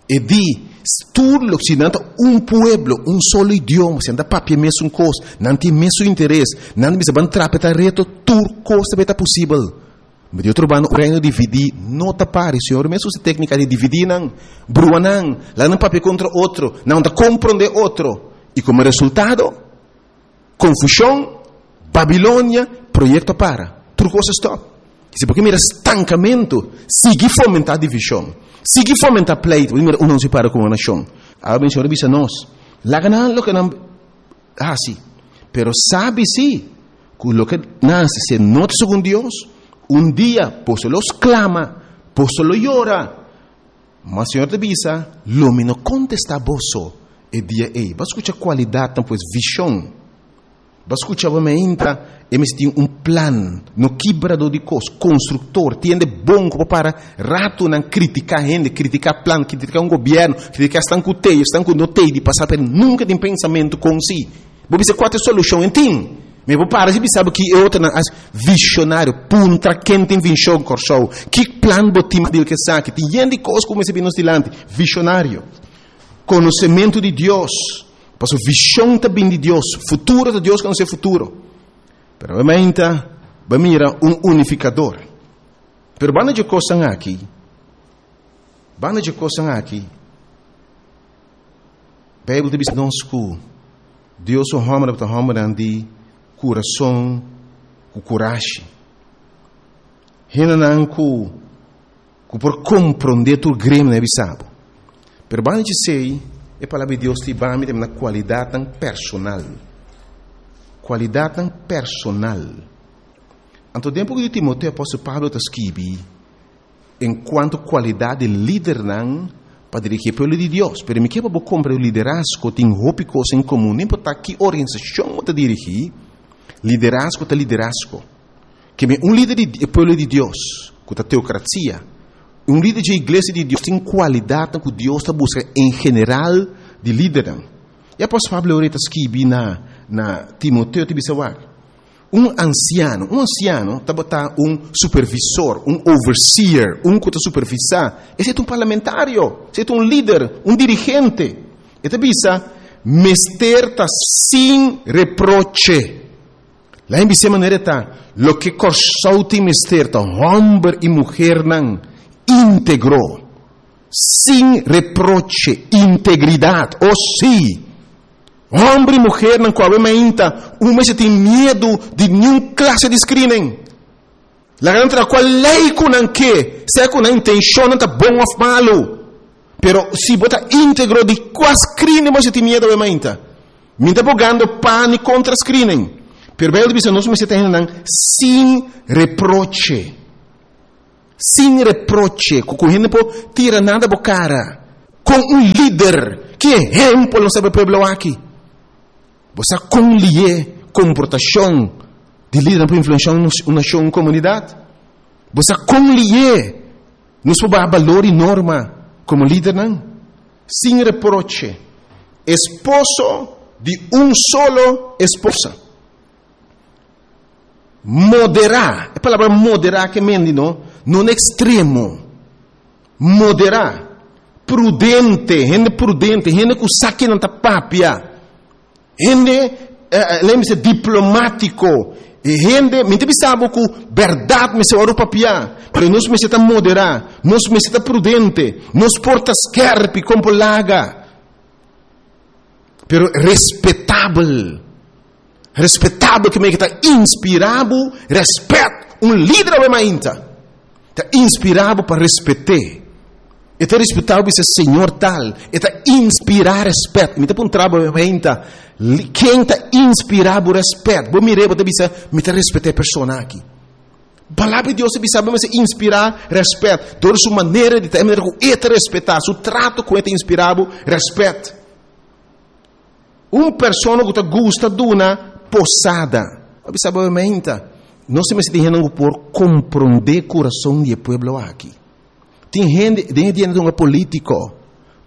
E di, tur lo, si nan ta un pueblo, un solo idioma, si nan ta papia e mesun cos, nan tin e mesun interes, nan ta bisa ban trapa e ta reto, tur cos ta bay ta posibel. Ma di otro banda, un reino dividí no ta pari. Señor mes usa e téknika di dividí nan, brua nan, laga nan papia kontra otro, nan no ta komprondé otro. I komo resultado, konfushon, Babilonia, proyekto a para, tur kos a stòp. Si bo ke mira stankamentu, sigui fomentá divishon, sigui fomentá pleitu, bo ta mira unda nos a para komo nashon. Awe ben Señor a bisa nos, laga nan loke nan hasi, pero sabi si ku loke nan hasi si no ta segun Dios, un dia boso lo sklama, boso lo yora. Ma Señor ta bisa, Lo mi no kontestá boso e dia ei. Bo a skucha kualidatnan, pues vishon. Bo a skucha bo meinta, e mester tin un plan, no kibradó di kos, konstruktor, tin hende bon ku por para ratunan kritiká hende, kritiká plan, kritiká un gobièrnu, kritiká esnan ku tei, esnan ku no tei di pasá, pero nunka tin pensamentu kon si. Bo bisa kua ta e solushon? E tin. Mi por para si bisa bo ki e otronan as visionario. Puntra ken tin vishon Kòrsou. Ki plan bo tin pa deal ku esaki? Tin yen di kos ku mester bin nos dilanti. Visionario. Konosementu di Dios. Pasobra vishon ta bin di Dios. Futuro ta Dios konosé futuro. Pero awe bo mira un unifikador. Pero banda dje kosnan aki, banda dje kosnan aki, Beibel ta bisa nos ku Dios su hòmbernan ta hòmbernan di kurason ku kurashi. Hendenan ku ku por komprondé tur gremio nan a bisa bo. Pero banda di esei, e Palabra di Dios ta hiba mi tambe na kualidatnan personal. Kualidatnan personal. Anto den buki di Timoteo apòstel Pablo ta skibi en kuanto kualidat di lidernan pa dirigí e pueblo di Dios. Pero mi ke pa bo komprendé liderazgo tin hopi kos en komun. No importá ki organisashon bo ta dirigí, liderazgo ta liderazgo. Ke mi un lider di e pueblo di Dios, ku ta teokrasia, un lider dje iglesia di Dios tin kualidatnan ku Dios ta buska en general di lidernan. E apòstel Pablo ora e ta skibi na na Timoteo ta bisa wak, Un ansiano, un ansiano tabata un supervisor, un overseer, un ku ta supervisá. Esei ta un parlamentario, esei ta un lider, un dirigente. E ta bisa, Mester ta sin reproche. Laga mi bis'é manera e ta, loke Kòrsou tin mester ta hòmber i muhernan íntegro, sin reproche, integridat, o sí! Homber i muhernan ku awe mainta un mester tin miedu di niun klase di screening. Laga nan traha kual lei ku nan ke, sea ku nan intenshonnan ta bon òf malu. Pero si bo ta íntegro di kua screening bo mester tin miedu awe mainta? Mi ta bogando pa ni kontra screening, pero Beibel ta bisa nos mester ta hendenan sin reproche. Sin reproche, ku ku hende por tira nada bo kara. Kon un lider, ki ehempel nos ta pa e pueblo aki? Bo sa kon lié komportashon di lidernan por influenshá un nashon, un komunidat? Bo sa kon lihé nos por baha balor i norma komo lidernan? Sin reproche, esposo di un solo esposa. Moderá, e palabra moderá ke men, no? No ekstremo. Moderá. Prudente, hende prudente, hende ku sa kiko nan ta papia. Hende, eh, lembrese, diplomátiko. Hende, mi ta bisa ku berdat mester wòrdu papiá, pero nos mester ta moderá, nos mester ta prudente, nos por ta skèrpi kon por laga. Pero respetabel. Respetabel ke men ta inspirá rèspèt, un lider awe mainta. Ta inspirá pa respetá. E ta respetabel bisa señor tal. E ta inspirá rèspèt. Mi ta puntra awe mainta. Ken ta inspirá rèspèt? Bo mira, bo bisa, mi ta respetá e persona aki. Palabra di Dios bisa, bo inspirá rèspèt. Dor su manera di ta, manera ku e ta respetá, su trato ku e ta inspirá rèspèt. Un persona ku ta gusta duna posada. Bisa mainta. Nos mester tin hende por komprondé kurason di pueblo aki. Tin hende, den dia un polítiko,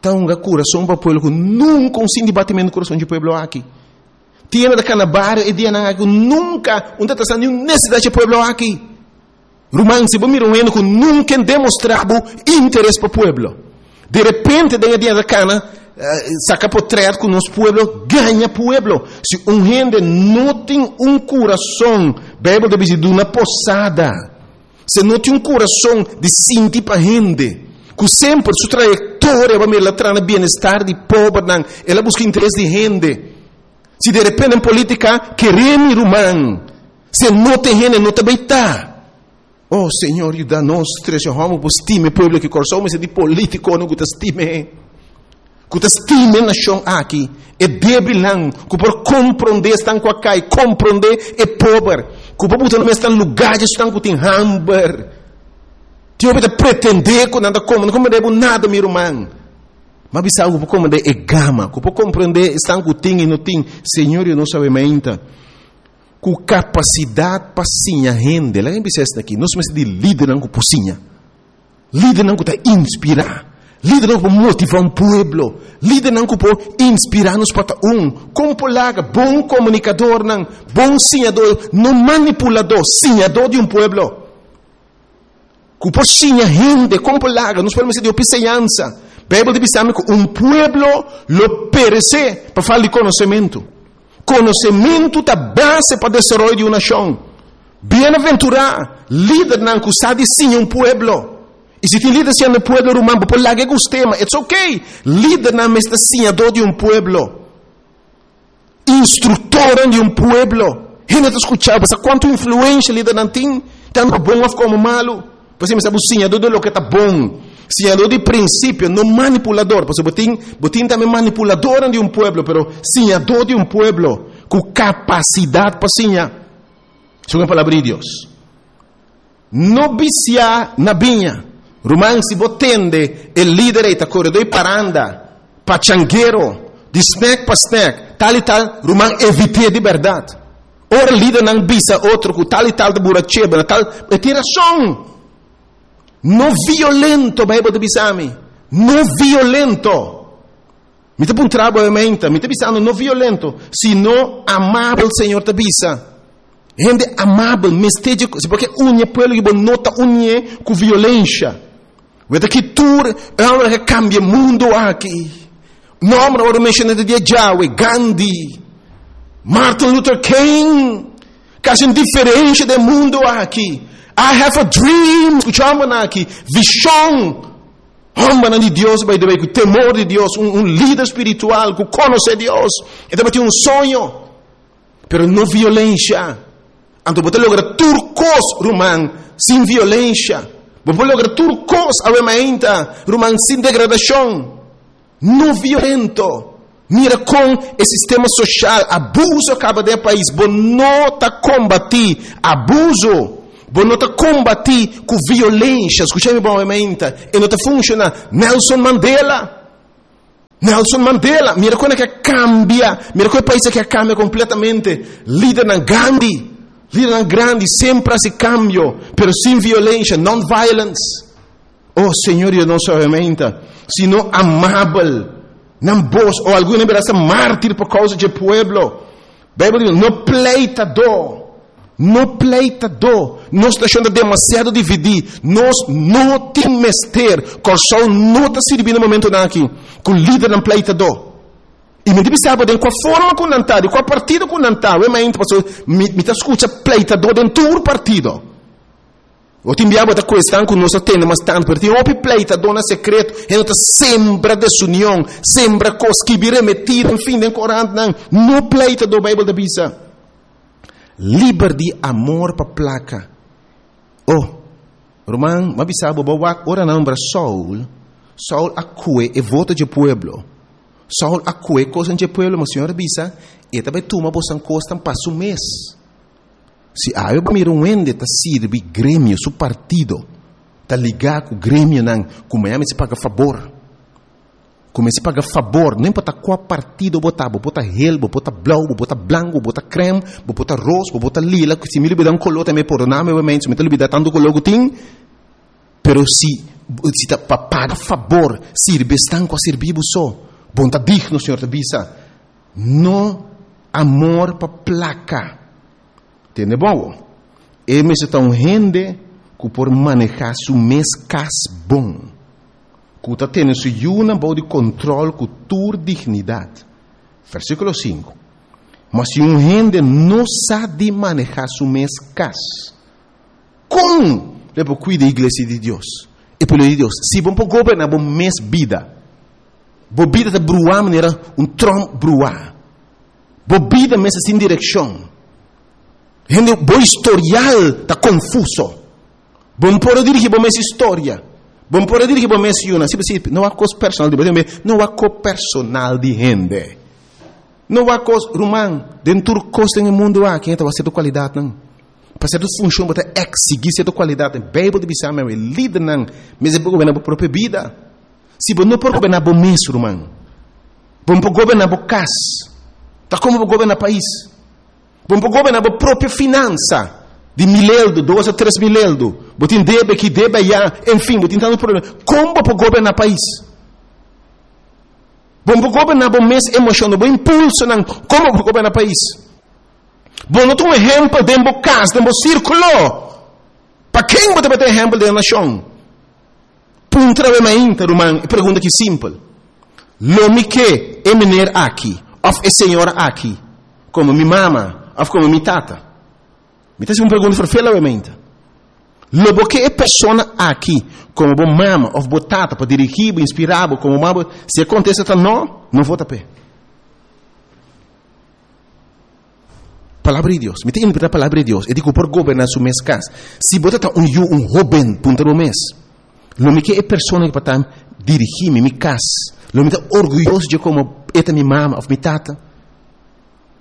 ta un kurason pa pueblo ku nunka un sinti batimentu kurason di pueblo aki. Tin hende kana bario e dia aki nunka no ta ningun nesesidat di pueblo aki. Ruman, si bo mira un hende ku nunka a demostrá interes pa pueblo. Di repente, den dia kana, saka portrèt ku nos pueblo, gaña pueblo. Si un hende no tin un kurason, Beibel ta bisa di posada. Si no tin un kurason di sinti pa hende, ku semper su trayektoria bai mira tras bienestar di pober, el a buska interes di hende. Si di repente den polítika, kere mi ruman, si no tin hende, no ta bai ta. Oh, Señor, yuda nos, trese hòmber pa stima pueblo ku kurason, mas di polítiko no ku stima. Ku stima nashon aki, e débilnan, ku por komprondé esnan ku a kai, komprondé e pober, ku por buta nan mes na lugá di esnan ku tin hamber. Tin ku pretendé ku nan ta kome, no komprondé nada, mi ruman. Ma bisa ku por komprondé e gama, ku por komprondé esnan ku tin i no tin. Señor, yuda nos mainta. Ku kapasidat pa siña hende. Laga mi bisa aki, nos mester di lidernan ku por siña. Lidernan ku ta inspirá. Lidernan ku por motivá un pueblo. Lidernan ku por inspirá nos pa un. Kon por laga, bon komunikadornan, bon siñadó, no manipuladó, siñadó di un pueblo. Ku por siña hende, kon por laga, nos por ser di enseñansa. Beibel ta bisa ku un pueblo lo peresé pa falta di konosementu. Konosementu ta base pa desaroyo di un nashon. Bienaventurá, lidernan ku sa siña un pueblo. I si tin lider siñando pueblo ruman, por laga tema, it's okay. Lidernan mester siñadó di un pueblo. Instruktor di un pueblo. Hende ta skucha, sa kuantu influensia lidernan tin, tantu bon òf komo malu. Pasobra mester siñadó di loke ta bon. Siñadó di prinsipio, no manipuladó. Pasobra bo tin, bo tin tambe manipuladó di un pueblo, pero siñadó di un pueblo ku kapasidat pa siña. Segun palabra di Dios. No bisia na biña. Ruman, si bo tende, e lider ta koredó di paranda, pachanguero, di snack pa snack, tal i tal, ruman, evit'é di berdat. Ora lidernan bisa otro, ku tal i tal ta buraché, tal, e tin rason. No violento, Beibel ta bisa mi. No violento. Mi ta puntra bo mi ta bisando no violento, sino amabel, Señor ta bisa. Hende amabel, mester pasobra uni pueblo ku no ta uni ku violensia. Weta ku tur, e kambia mundu aki. Nòmber ora menshoná di Yahweh, Gandhi, Martin Luther King, kasi un diferensia di mundu aki. I have a dream, skucha aki, vishon. Hòmber di Dios, by the way, ku temor di Dios, un, un lider spiritual ku konosé Dios. E tin un soño, pero no violensia. Anto bo ta logra tur kos, ruman, sin violensia. Bo por logra tur kos, awe mainta, ruman, sin degradashon. No violento. Mira kon e sistema sosial, abuso kaba den pais. Bo no ta kombatí abuso. Bo no ta kombatí ku violensia. Skucha mi bon mainta. E no ta funshoná. Nelson Mandela. Nelson Mandela, mira kon ku a kambia, mira kon e pais ku a kambia kompletamente. Lidernan Gandhi, Lidernan grandi semper hasi kambio, pero sin violensia, non-violence. Oh, Señor Dios nos obviamente, sino amabel, nan bos, o algun bira hasta mártir pa kousa di pueblo. Beibel di, no pleitadó, no pleitadó. Nos nashon ta demasiado dividí. Nos no tin mester. Kòrsou no ta sirbi na momentonan aki ku lidernan pleitadó. I mi ta bisa bo den kua forma ku nan ta, di kua partido ku nan ta. Wei mainta paso mi mi ta skucha pleitadó den tur partido. Bo tin bia bo ta kuestan ku nos a tende mas tantu, pero tin hopi pleitadó na sekreto. Hende ta sembra desunion, sembra kos, skibi remetida, enfin den korantnan. No pleitadó, Beibel ta bisa. Liber di amor pa plaka. Oh, ruman, m'a bisa bo, bo wak ora nan nombra Saul, Saul a kue e voto dje pueblo. Saul a kue kosnan dje pueblo, ma Señor a bisa, E ta bai tuma bosan kosnan pa su mes. Si awe bo mira un hende ta sirbi gremio, su partido, ta ligá ku gremionan ku mañana mester paga fabor. Ku mester paga fabor, no importa kua partido bo ta, bo por ta hel, bo por ta blou, bo por ta blanku, bo por ta krèm, bo por ta ros, bo por ta lila, si mi lubida un koló tambe pordona mi obviamente, mi ta lubida tantu koló ku tin, pero si si ta pa paga fabor, sirbi esnan ku a sirbi bo so, bo no ta digno, Señor ta bisa. No amor pa plaka. Tende bon awor. E mester ta un hende ku por manehá su mes kas bon, ku ta tene su yunan bou di kontròl ku tur dignidat. Versíkulo sinku, Ma si un hende no sa di manehá su mes kas, kon lo e por kuida e iglesia di Dios, e pueblo di Dios? Si bo no por goberná bo mes bida, bo bida ta bruá manera un tròm bruá. Bo bida mester sin direkshon. Hende, bo historial ta konfuso. Bo no por a dirigí bo mes historia. Bo no por a dirigí bo mes yunan. Si, si, no wak kos personal di bo. No wak kos personal di hende. No wak kos, ruman, den tur kos den e mundu aki, hende ta wak sierto kualidatnan. Pa sierto funshon bo ta eksigí sierto kualidatnan. Beibel ta bisa mi awe, lidernan mester por goberná bo propio bida. Si bo no por goberná bo mes, ruman, bo no por goberná bo kas, ta komo bo goberná pais? Bo no por goberná bo propio finansa di mil eldo, dos a tres mil eldo. Bo tin debe aki, debe ayá, en fin, bo tin tantu problema. Kon bo por goberná pais? Bo no por goberná bo mes emoshonnan, bo impulsonan, kon bo por goberná pais? Bo no ta un ehèmpel den bo kas, den bo sírkulo. Pa ken bo ta bai ta ehèmpel den e nashon? Puntra awe mainta, ruman, e pregunta aki simpel, Lo mi ke e meneer aki of e señora aki komo mi mama of komo mi tata? Mi ta hasi un pregunta ferfel awe mainta. Lo bo ke e persona aki komo bo mama of bo tata pa dirigí bo, inspirá bo komo mama? Si e kontesta ta no, no vota p'e. Palabra di Dios. Mi ta interpreta palabra di Dios. E di ku por goberná su mes kas. Si bo ta ta un yu, un hóben, puntra bo mes, Lo mi ke e persona ku pa ta dirigí mi, mi kas? Lo mi ta orguyoso dje komo e ta mi mama òf mi tata?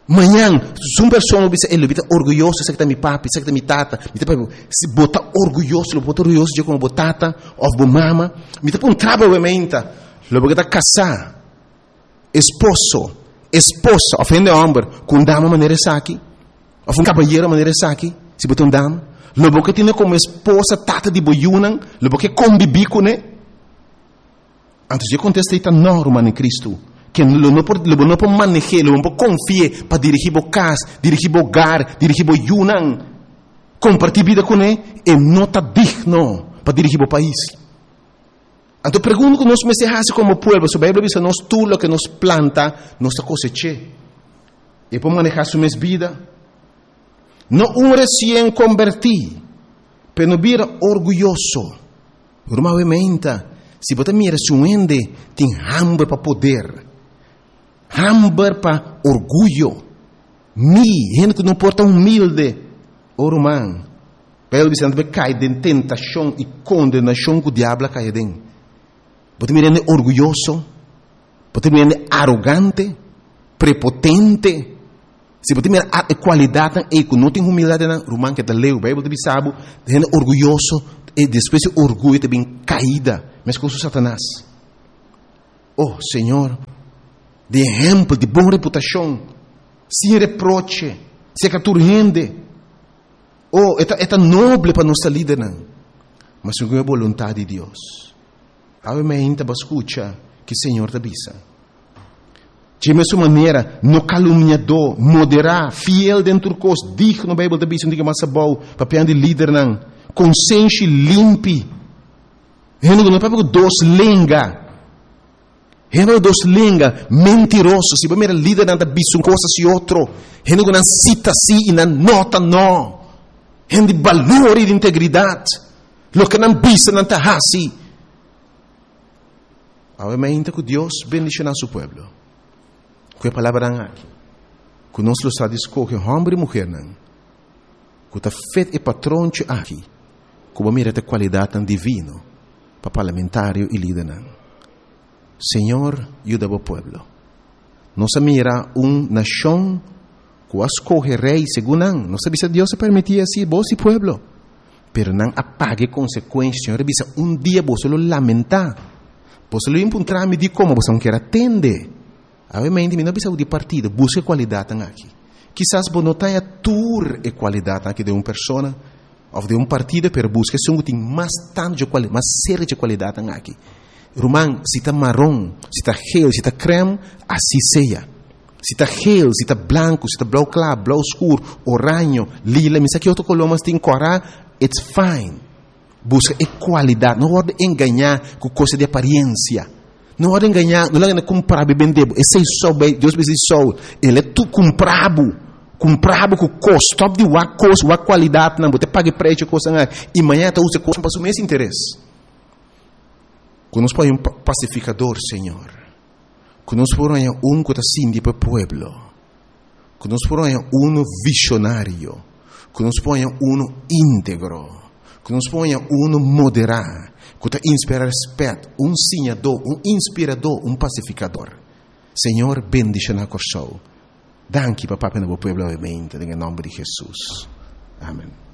Mañan, si un persona bo bisa, Ey, lo mi ta orguyoso esaki ta mi papi, esaki ta mi tata. Mi ta papia, si bo ta orguyoso, lo bo ta orguyoso dje komo bo tata òf bo mama? Mi ta puntra bo awementa, lo bo ke ta kasá? Esposo, esposa òf hende hòmber ku un dama manera esaki, òf un kabayero manera esaki, si bo ta un dama, lo bo ke tene komo esposa tata di bo yunan? Lo bo ke kombibí kuné? Anto si e kontesta ei ta nò, ruman den Kristu, ke lo no por, lo bo no por maneh'é, lo bo no por konfi'é pa dirigí bo kas, dirigí bo hogar, dirigí bo yunan, kompartí bida kuné, e no ta digno pa dirigí bo pais. Anto pregunta ku nos mester hasi komo pueblo, su Beibel a bisa nos tur loke nos planta, nos ta kosech'é. E por manehá su mes bida. No un resien kombertí, pero no bira orguyoso. Ruman obviamente, si bo ta mira si un hende tin hamber pa poder, hamber pa orguyo, mi, hende ku no por ta humilde, o ruman, Bijbel bisa nan ta kai den tentashon i kondenashon ku diabel a kai aden. Bo ta mira hende orguyoso, bo ta mira hende arogante, prepotente. Si bo ta mira e kualidatnan ei ku no tin humildat den nan, ruman keda leu. Bijbel ta bisa bo, hende orguyoso, e despues di orguyo ta bin kaida, meskos ku Satanas. Oh, Señor, di ehèmpel, di bon reputashon, sin reproche, serka tur hende. Oh, e ta noble pa nos lidernan. Ma segun e boluntat di Dios. Awe mainta bo a skucha ku Señor ta bisa. Di mesun manera, no kalumniadó, moderá, fiel den tur kos, digno, Beibel ta bisa, un mas abou, papia di lidernan, konsenshi limpi. Hende no papia ku dos lenga. Hende dos lenga, mentiroso. Si bo mira lidernan ta bisa un kos hasi otro. Hende ku nan si ta si i nan no ta no. Hende balor i integridat. Loke nan bisa nan ta hasi. Awe mainta ku Dios bendishoná su pueblo. Ku e palabranan aki. Ku nos lo sa di skohe hòmber i muhénan. Ku ta fit e patronchi aki. Ku bo mira e kualidatnan divino pa parlamentario i lidernan. Señor, yuda bo pueblo. Nos a mira un nashon ku a skohe rei segun nan. Nos a bisa Dios a permití asina, bo i pueblo. Pero nan a paga konsekuensia. Señor a bisa un dia bo lo lamentá. Bo lo puntra mi di kon bo no ke tende. Awe mainta mi no bisa di partido, buska kualidat aki. Kisas bo no tin tur e kualidat aki di un persona òf di un partido, pero buska esun ku tin mas tantu kualidat, mas serio di kualidat aki. Ruman, si ta maron, si ta geel, si ta crème, asina sea. Si ta geel, si ta blanku, si ta blou kla, blou skur, oraño, lila, mi sa ki otro koló mas tin kòrá, it's fine. Buska e kualidat, no wòrdu engañá ku kos di aparensia. No wòrdu engañá, no laga kumpra bo bende. Esei so, Dios bisa so, e ta tur kumpra bo. Kumpra bo ku kos, stòp di wak kos, wak kualidat, no, bo ta paga preis kos, i mañan ta usa kos pa su mes interes. Ku nos pone un pasifikadó, Señor. Ku nos pone un ku ta sinti pa pueblo. Ku nos pone un vishonario. Ku nos pone un íntegro. Ku nos pone un moderá. Ku ta inspirá rèspèt, un siñadó, un inspiradó, un pasifikadó. Señor, bendishoná Kòrsou. Danki, Papa, na pueblo, obviamente, den nòmber di Hesus. Amèn.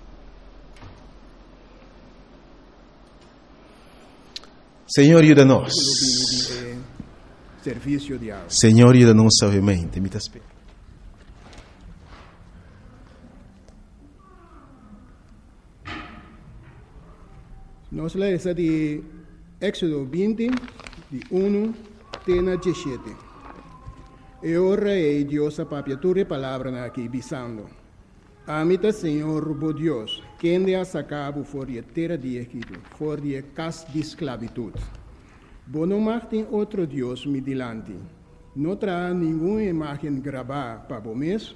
Señor, yuda nos. Servisio di awa. Señor, yuda nos, obviamente. Mi ta spera. Nos ta lesa di Éksodo binti, di un te na diesshete. E ora ei Dios a papia tur e palabranan aki, bisando: Ami ta Señor bo Dios, kende a saka bo for di tera di Egipto, for di kas di sklabitut. Bo no mag tin otro Dios mi dilanti. No traha ningun imágen grabá pa bo mes,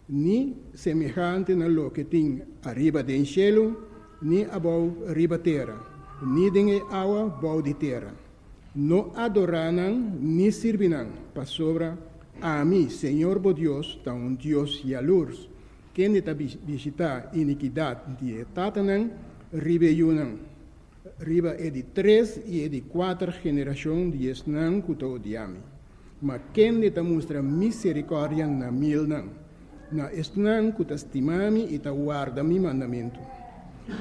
ni semehante na loke tin ariba den shelu, ni abou riba tera, ni den awa bou di tera. No adorá nan, ni sirbi nan, pasobra ami, Señor bo Dios, ta un Dios yalurs, kende ta bishitá inikidat di tatanan, riba yunan, riba e di tres i e di kuater generashon di esnan ku ta odia mi. Ma kende ta mustra miserikòrdia na milnan, na esnan ku ta stima mi i ta warda mi mandamentu.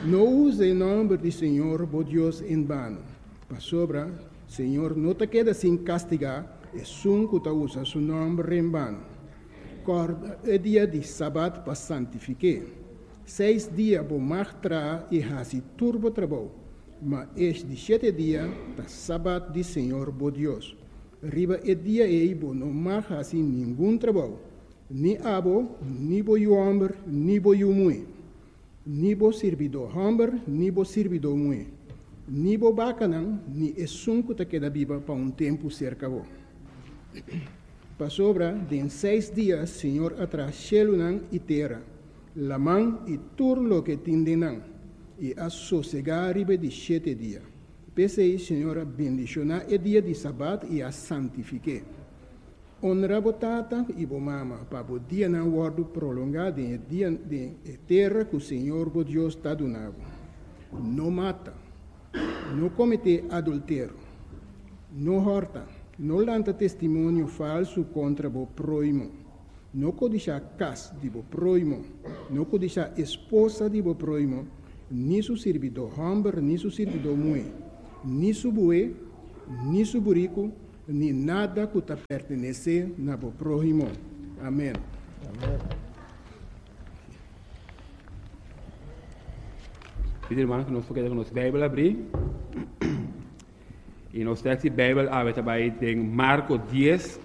No usa e nòmber di Señor bo Dios en bano, pasobra Señor no ta keda sin kastigá esun ku ta usa su nòmber en bano. Kòrda e dia di sabat pa santifik'é. Seis dia bo mag traha i hasi tur bo trabou, ma e di shete dia ta sabat di Señor bo Dios. Riba e dia ei bo no mag hasi ningun trabou, ni abo, ni bo yu hòmber, ni bo yu muhé, ni bo sirbidó hòmber, ni bo sirbidó muhé, ni bo bakanan, ni esun ku ta keda biba pa un tempu serka bo. Pasobra den seis dia Señor a traha shelunan i tera, laman i tur loke tin den nan, i a sosegá riba di shete dia. P'esei Señor a bendishoná e dia di sabat i a santifik'é. Honra bo tata i bo mama, pa bo dianan wòrdu prolongá den dia den tera ku Señor bo Dios ta duna bo. No mata, no kometé adulterio, no hòrta, no lanta testimonio falsu kontra bo próhimo, no kodishá kas di bo próhimo, no kodishá esposa di bo próhimo, ni su sirbidó hòmber, ni su sirbidó muhé, ni su bue, ni su buriku, ni nada ku ta pertenesé na bo próhimo. Amèn. Amèn. Pidi ruman ku nos por keda ku nos Beibel habrí. I nos teksto di Beibel awe ta bai den Marko dies,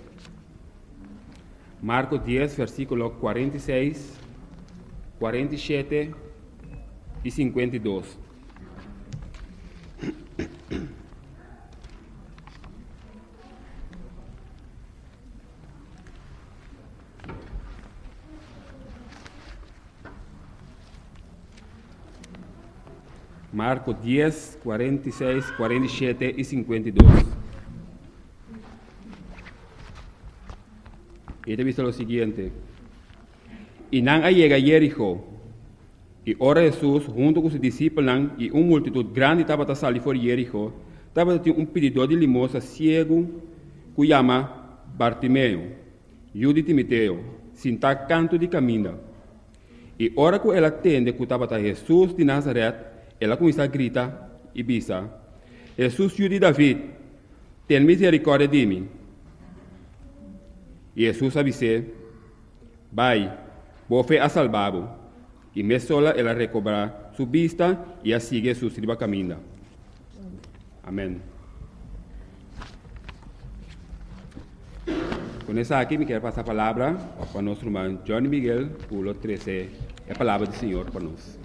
Marko dies, versíkulo kuarenta i seis, kuarenta i shete i sinkuenta i dos. Marko dies, kuarenta i seis, kuarenta i shete i sinkuenta i dos. I ta bisa lo siguiente: I nan a yega Jericho, i ora Hesus huntu ku su disipelnan i un multitut grandi tabata sali for di Jericho, tabata tin un pididó di limosa siegu ku yama Bartimeo, yu di Timiteo, sintá kantu di kaminda. I ora ku el a tende ku tabata Hesus di Nazaret, el a kuminsá grita i bisa, Hesus, yu di David, ten miserikòrdia di mi! I Hesus a bis'é, Bai, bo fe a salba bo. I mesola el a rekobrá su bista i a sigui Hesus riba kaminda. Amèn. Con esaki mi kier pasa palabra pa nos ruman Johnny Miguel cu lo trece e palabra di Señor pa nos.